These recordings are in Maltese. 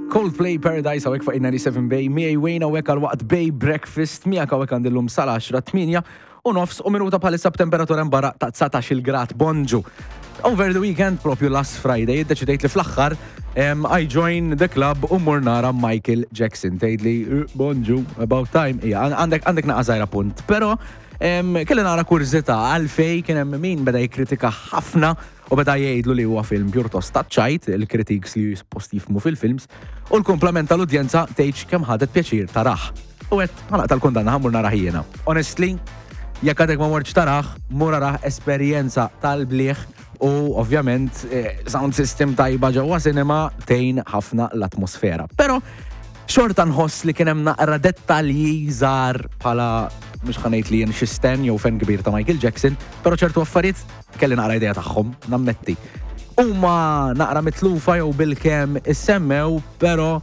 Coldplay Paradise hawnhekk fuq 97 Bay, miegħi Wayne hawnhekk għal waqt Bay Breakfast, miegħek hawnhekk għandillum sal-10 8 u nofs u minuta bħalissa b'temperatura barra ta' 19 grad bonġu. Over the weekend, propju last Friday, iddeċidejt li fl-aħħar I join the club u mur nara Michael Jackson. Tgħidli eh, bonġu, about time. Ija, għandek għandek naqa' punt. Però kelli nara kurżità għalfej kien hemm min beda jikkritika ħafna u beda jgħidlu li huwa film pjuttost taċ-ċajt, il-critics li suppost jifhmu fil-films, u l-kumplament tal-udjenza tgħidx kemm ħadet pjaċir tarah. U għedt, ħa naqta' l-kundanna ħa mmur narah jiena. Honestly, jekk għadek ma mortx tarah, mur arah esperjenza tal-bliħ u ovvjament eh, sound system tajba ġewwa cinema tgħin ħafna l-atmosfera. Però xorta nħoss li kien hemm naqra dettalji żgħar bħala mhux ħa ngħid li jien xi stan jew fan kbir ta' Michael Jackson, però ċertu affarijiet kelli naqra idea tagħhom, nammetti. Huma naqra mitlufa jew bilkemm issemmew, però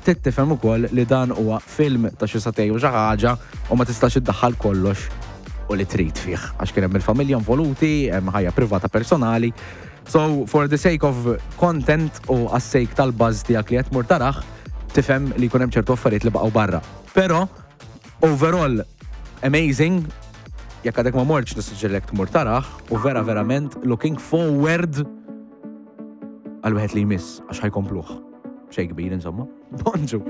trid tifhem ukoll li dan huwa film ta' xi sagħtejn u xi ħaġa u ma tistax iddaħħal kollox u li trid fih għax kien hemm il-familja involuti, hemm ħajja privata personali. So, for the sake of content u għas-sake tal-buzz tiegħek li qed tmur tarah, tifhem li jkun hemm ċertu affarijiet li baqgħu barra. Però, overall, amazing, jekk għadek ma mortx nissuġġerilek tmur tarah u vera verament looking forward għal wieħed li jmiss għax ħajkompluh. Xejn kbir insomma. Bonġu.